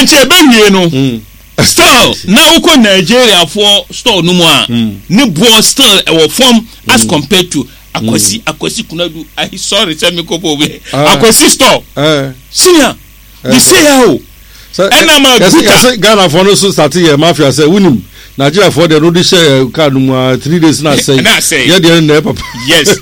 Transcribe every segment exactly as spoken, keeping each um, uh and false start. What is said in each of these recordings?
Nti ɛbɛwie no, still na wokɔ Nigeriafoɔ store no mu a, ne boɔ still ɛwɔ fam as compared to Akwasi Akwasi Kunadu. Ayi, sorry sɛ mekɔ bɔ obi. Ah. Akwasi store, Eh. senior, de se ya o, ɛna ma yɛsɛ guta. Yɛsɛ Ghanafoɔ no so start yɛ mafia sɛ wonim Nigeriafoɔ deɛ no de hyɛ kaa no mu a, three days na asɛe. Na asɛe. Yɛ deɛ no na ɛyɛ papa. Yes,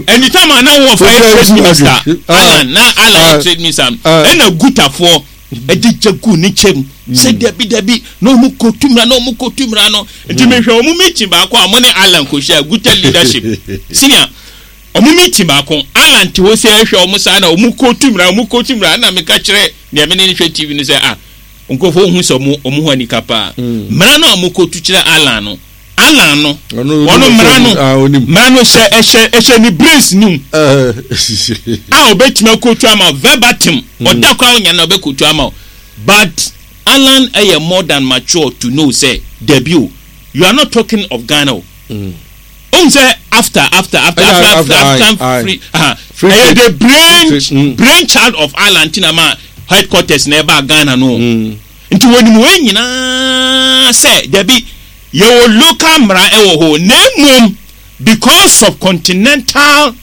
anytime a na wɔ fa yɛ trade minister Alan, na Alan Ah. yɛ trade minister, Ah. ɛna gutafoɔ ɛde gya gu ne kyɛm sɛ dabi dabi, na ɔmo kɔ tumira, na ɔmo kɔ tumira no. Nti mehwɛ ɔmo meeting baako a ɔmo ne Alan kɔ hyia, Guta leadership, senior, ɔmo meeting baako, Alan te hɔ sɛ ɛhwɛ ɔmo saa na ɔmo kɔ tumira, ɔmo kɔ tumira. Ɛna meka kyerɛ nea me ne ne hwɛ T V no sɛ, ah, nkurɔfoɔ ohun sɛ ɔmo ɔmo ho anika paa. Mmara no a ɔmo kɔ tu kyerɛ Alan no, Alan no Ɔno- ɔno mmara no Ah, onim. mmara no hyɛ ɛhyɛ ɛhyɛ ne brains nim Eh. a ɔbɛtumi akotu ama verbatim. Ɔda koraa ɔnya na ɔbɛkotu ama o, but Alan ɛyɛ more than mature to know sɛ dabi o, you are not talking of Ghana o. Ohun sɛ after after after Ɛyɛ after after, after aye, after aye. free, aha, Free ɛyɛ trade. the brain Free trade, mm. brain child of Alan tina ma headquarters na ɛba Ghana no. Nti wɔnim wɔn nyinaa sɛ dabi, yɛwɔ local mmara ɛwɔ hɔ, na emom because of continental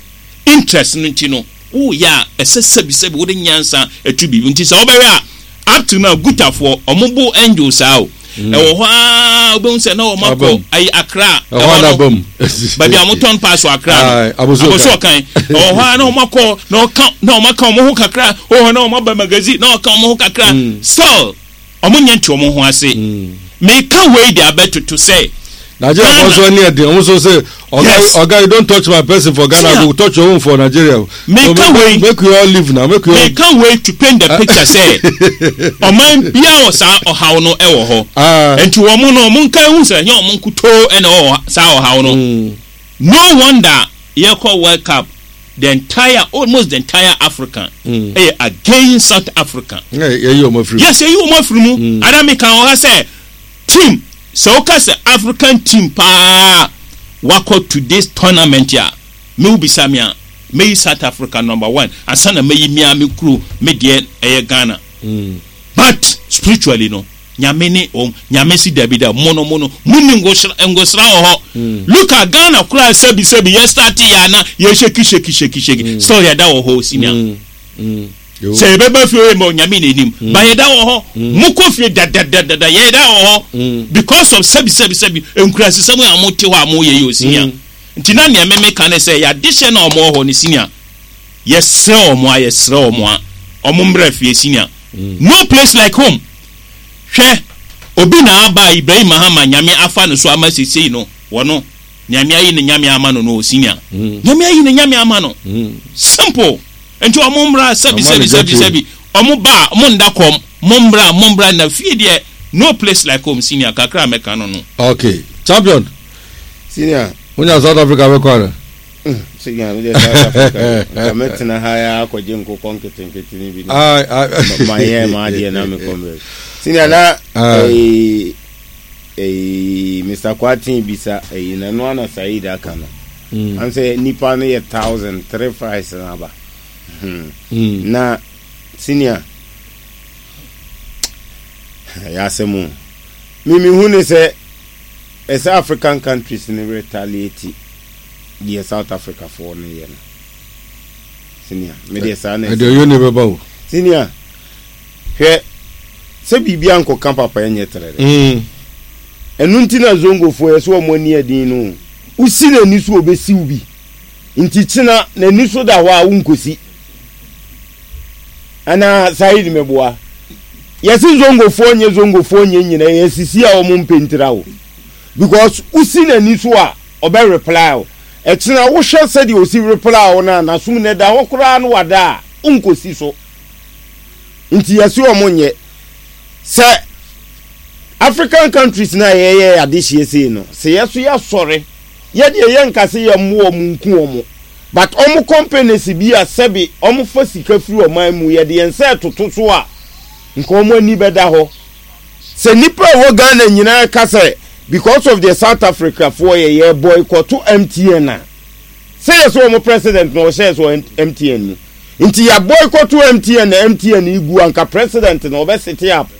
interest no nti no, woyɛ a ɛsɛ sɛbisɛbi wode nyansa atu biribi. Nti sɛ wobɛhwɛ a, up to now gutafoɔ ɔmo bo angel saa o, ɛwɔ hɔ aa, wobɛhu sɛ na ɔmo akɔ Abam. ayi Akra. Ɛhɔ ana no bam. Baabi a wɔtɔn pass wɔ Akra Aye, no. Abossey Abossey Okai. Ɔkan ɛwɔ hɔ a, na ɔmo akɔ na ɔka na ɔmo aka ɔmo ho kakra wɔ hɔ, na ɔmo aba magazine na ɔka ɔmo ho kakra. Still ɔmo nyɛ nte ɔmo ho ase. Meka wei de abɛtoto sɛ Nigeria Ghana- fɔ so ani ɛden, ɔmo so sɛ oga, Yes. "Oga, you don't touch my person for Ghana." Senior. I go touch your own for Nigeria. Meka So wei- make we all live now, make we all Meka wei to paint the picture sɛ ɔman bia wɔ saa ɔhaw no ɛwɔ hɔ. Ah. Nti wɔn no, ɔmo nka ehu sɛ ɛnyɛ ɔmo nkutoo ɛna ɛwɔ saa ɔhaw no. Mm. No wonder yɛkɔ World Cup, the entire almost the entire Africa Mm. ɛyɛ against South Africa. Ɛ yɛyi ɔmo afiri mu. Yes, ɛyi wɔn afiri mu. Ada mi kan wɔ ha sɛ team, sɛ woka sɛ African team paa wakɔ to this tournament a, mewu bisa mi a, meyi South Africa number one ansa na meyi mia mi kuro mi deɛ ɛyɛ Ghana. Mm. But spiritually no, Nyame ne wɔn. Nyame si dabi da, mo no mo no mo ni ngosra ngosra wɔ hɔ. Look at Ghana koraa, sɛbi sɛbi, yɛ start yɛ ana yɛ shake shake shake shake, still yɛda wɔ hɔ, senior. Mm. Mm. Yo. Sɛ yɛbɛba fie yɛ ma Onyame n'anim ba, yɛda wɔ hɔ. Mokɔ fie dadadadada, yɛda wɔ hɔ Mm. because of sɛbi sɛbi sɛbi nkurasisɛm a mote hɔ a moyɛ yɛ o, senior. Nti na nea meme ka ne sɛ yɛadehyɛ na ɔmo wɔ hɔ no, senior, yɛsrɛ ɔmo a yɛsrɛ ɔmo a ɔmo mmerɛ fie, senior. No place like home. Hwɛ, obi na aba, Ibrahim Mahama, Nyame afa no so ama sesei no wɔno Nyame ayi ne Nyame ama no no o, senior. Nyame ayi ne Nyame ama no. Mm. Simple. Nti ɔmo mmra, sɛbi Ɔmo sɛbi ne sɛbi gya. Sɛbi ɔmo ba a, ɔmo nda kɔm. Mo mmra, mo mmra na fie deɛ, no place like home, senior. Kakra a mɛka no no. Okay, champion. Senior. Wonya South Africa bɛkɔ ana? Senior, mi de South Africa nka mɛtena ha ya akɔgye nkokɔ nketenkete ni bi na Ai, ai. Ma yɛ ma adeɛ na mekɔ mbɛ. Senior, na Ah. ɛyi ɛyi Mister Kwatin bisa ɛyi na no ana Said aka no Mm. an sɛ nipa no yɛ thousand three five na aba Hmm. Mm. Na senior, ɛyɛ asɛm o. Mimi hu ne sɛ ɛsɛ African countries ne retaliate deɛ South Africa foɔ no yɛ no. Senior, me deɛ saa na ɛdeɛ ɔyɛ ne bɛba o. Senior, hwɛ sɛ biribi ankɔka papa ɛnyɛ trɛrɛ. Mm. Ɛno nti na Zongofoɔ yɛ sɛ wɔn ani ɛden no, wosi n'ani so obɛsiw bi nti kyena n'ani so da hɔ a wonkɔsi anaa. Said, meboa yɛsi Zongofoɔ nyɛ Zongofoɔ nyɛ nyina yɛsisi a wɔn mpɛntira o, because wosi n'ani so a ɔbɛ reply o. Ɛkyena wohwɛ sɛdeɛ osi reply o na n'asom na ɛda hɔ koraa no wada a wonkɔsi so. Nti yɛsi wɔn nyɛ sɛ African countries na yɛyɛ adehyeɛ sei no sɛ yɛso yɛasɔre, yɛdeɛ yɛnka sɛ yɛmmo wɔn nku wɔn, but ɔmo companies bi a sɛbi ɔmo fa sika firi ɔman mu, yɛde yɛn nsa ɛtoto so a, nka ɔmo ani bɛda hɔ sɛ nipa a ɛwɔ Ghana nyinaa ka sɛ because of the South Africa foɔ yɛ yɛ boycott M T N a, sɛ yɛ sɛ ɔmo president na ɔhyɛ sɛ M T N mu nti yɛ boycott M T N na M T N igu, anka president na ɔbɛ sit up.